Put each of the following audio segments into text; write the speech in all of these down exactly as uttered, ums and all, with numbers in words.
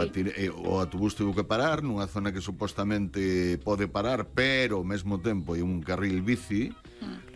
Patir, eh, o autobús tivo que parar nunha zona que supostamente pode parar, pero ao mesmo tempo hai un carril bici. Mm.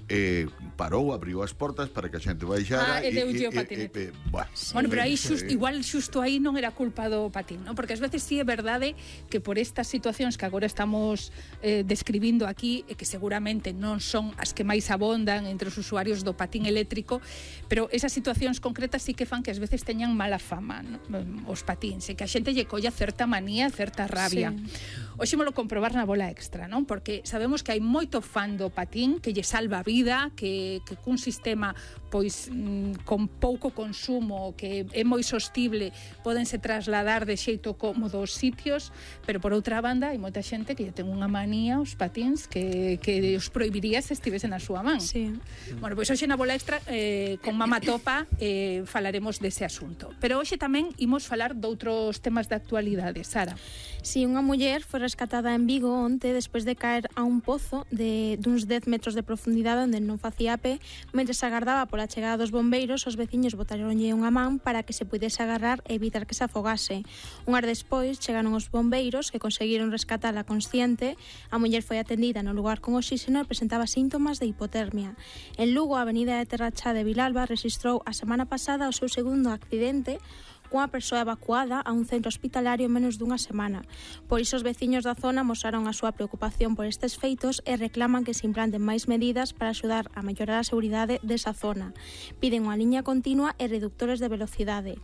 Eh, parou, abriu as portas para que a xente baixara ah, e deulle o patinete. E, e, e, bueno, bueno, pero aí xust, igual xusto aí non era culpa do patín, ¿no? Porque ás veces sí é verdade que por estas situacións que agora estamos eh, describindo aquí, e que seguramente non son as que máis abondan entre os usuarios do patín eléctrico, pero esas situacións concretas sí que fan que ás veces teñan mala fama, ¿no? Os patíns, e que a xente lle colla certa manía, certa rabia. Sí. Hoxe molo comprobar na bola extra, non? Porque sabemos que hai moito fan do patín que lle salva a vida, que, que cun sistema pois mm, con pouco consumo, que é moi sostible, podense trasladar de xeito cómodo aos sitios, pero por outra banda hai moita xente que lle ten unha manía aos patíns que, que os prohibiría se estivese na súa man. Sí. Bueno, pois hoxe na bola extra eh, con Mama Topa eh, falaremos dese asunto. Pero hoxe tamén imos falar doutros temas de actualidade, Sara. Si, sí, unha muller foi rescatada en Vigo onte despois de caer a un pozo de duns dez metros de profundidade onde non facía pé. Mentre se agardaba pola chegada dos bombeiros, os veciños botaronlle unha man para que se pudese agarrar e evitar que se afogase. Un ar despois chegaron os bombeiros que conseguiron rescatala consciente. A muller foi atendida no lugar con oxígeno e presentaba síntomas de hipotermia. En Lugo, a avenida de Terrachá de Vilalba rexistrou a semana pasada o seu segundo accidente cunha persoa evacuada a un centro hospitalario en menos dunha semana. Por iso os veciños da zona mostraron a súa preocupación por estes feitos e reclaman que se implanten máis medidas para axudar a mellorar a seguridade desa zona. Piden unha liña continua e reductores de velocidade.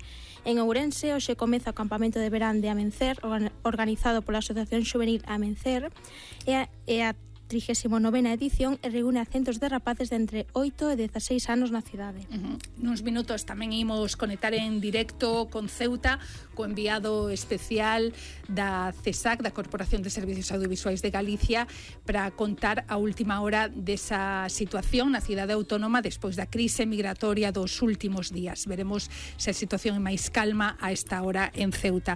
En Ourense, hoxe comeza o campamento de verán de Amencer, organizado pola Asociación Xuvenil Amencer, e a, e a trigésima novena edición e reúne a centos de rapaces de entre oito e dezaseis anos na cidade. Uh-huh. Nuns minutos tamén imos conectar en directo con Ceuta, co enviado especial da CESAC, da Corporación de Servicios Audiovisuais de Galicia, para contar a última hora desa situación na cidade autónoma despois da crise migratoria dos últimos días. Veremos se a situación é máis calma a esta hora en Ceuta.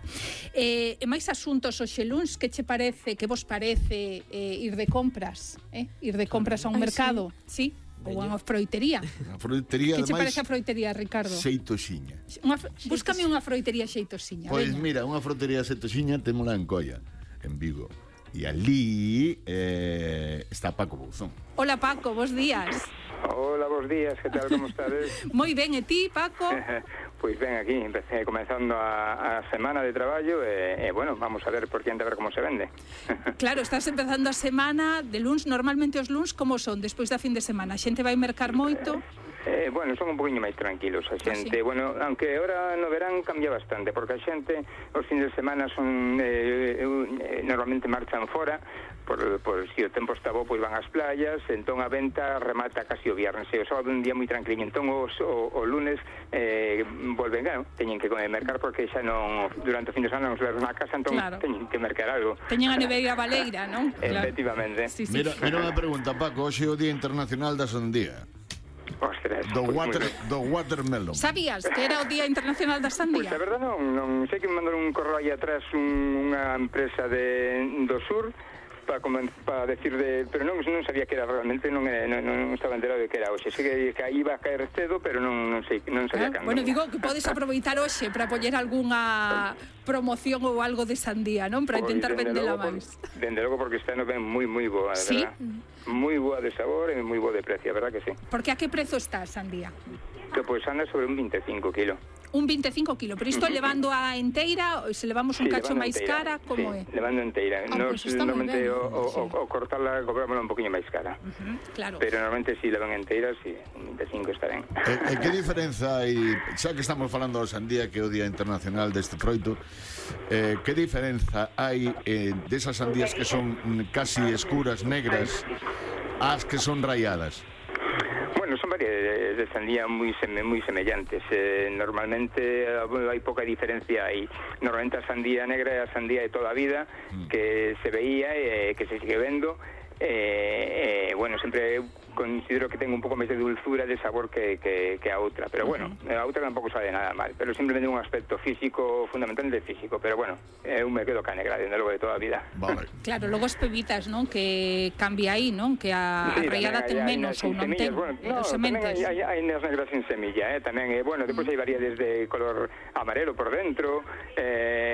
Eh, e máis asuntos hoxe luns, que che parece, que vos parece eh, ir de compra? Eh? Ir de compras a un Ay, mercado, sí? sí? Ou a unha froitería. A froitería, que che parece a froitería, Ricardo? Xeitosiña. Unha, búscame unha froitería xeitosiña. Pois veña. Mira, unha froitería xeitosiña témola en Coia, en Vigo. E ali eh, está Paco Bouzón. Hola Paco, bos días. Hola, bos días, que tal, como estades? Moi ben, e ti, Paco? Pois ben, aquí, empecé comenzando a, a semana de traballo e, e, bueno, vamos a ver por diante a ver como se vende. Claro, estás empezando a semana de luns, normalmente os luns como son despois da fin de semana? A xente vai mercar moito? Eh, bueno, son un poquinho máis tranquilos a xente, ah, sí? Bueno, aunque ahora no verán cambia bastante, porque a xente os fins de semana son eh, eh, normalmente marchan fora, por, por si o tempo está bo, pois van ás playas, entón a venta remata casi o viernes, e o sábado un día moi tranquilo, entón os, o, o lunes eh, volven, claro, teñen que mercar porque xa non, durante o fin de semana non se levan a casa, entón claro, teñen que mercar algo. Teñen a neveira baleira, non? Claro. Efectivamente. Sí, sí. Mira, mira unha pregunta, Paco, hoxe é o Día Internacional da Sandía. Ostras, do, pues water, do watermelon. Sabías que era o Día Internacional da Sandía? Pois pues, a verdade non, non sei que me mandaron un correo aí atrás un, unha empresa de, do sur para para decir de, pero non non sabía que era realmente, non non, non estaba enterado de que era hoxe. Sei que, que iba a caer cedo, pero non non sei, non sabía ah, cando. Bueno, digo que podes aproveitar hoxe para poñer algunha promoción ou algo de sandía, non? Para intentar vendela máis. Dende logo porque está no ben moi moi boa, de ¿Sí? verdad. Moi boa de sabor e moi boa de precio, verdad que sí. Porque a que prezo está a sandía? Que pois anda sobre un veinticinco kilos. Un veinticinco kilos, pero isto uh-huh. levando a enteira, ou se levamos un sí, cacho máis cara, como sí, é? levando enteira. Ah, Nos, pues normalmente o, o, sí. o, o cortarla cobrámosla un poquinho máis cara. Uh-huh, claro. Pero normalmente si levan enteira, si, un veinticinco está ben. E, e que diferenza hai, xa que estamos falando da sandía, que é o Día Internacional deste froito, eh, que diferenza hai eh, desas sandías que son casi escuras, negras, ás que son rayadas? Bueno, son varias de sandía moi seme, moi semellantes. Eh, normalmente hai pouca diferencia aí. Normalmente a sandía negra é a sandía de toda a vida, mm. que se veía e eh, que se sigue vendo. Eh, eh, bueno, sempre considero que ten un pouco máis de dulzura, de sabor que, que, que a outra, pero bueno, a outra tampouco sabe nada mal, pero simplemente un aspecto físico, fundamentalmente físico, pero bueno, eu me quedo ca negra, dende logo de toda a vida. Vale. Claro, logo as pebitas, non? Que cambia aí, non? Que a, sí, a raiada ten menos ou non ten bueno, no, sementes. Hai, hai, hai nas negras sin semilla, eh, tamén, eh, bueno, depois hai variedades de color amarelo por dentro, eh,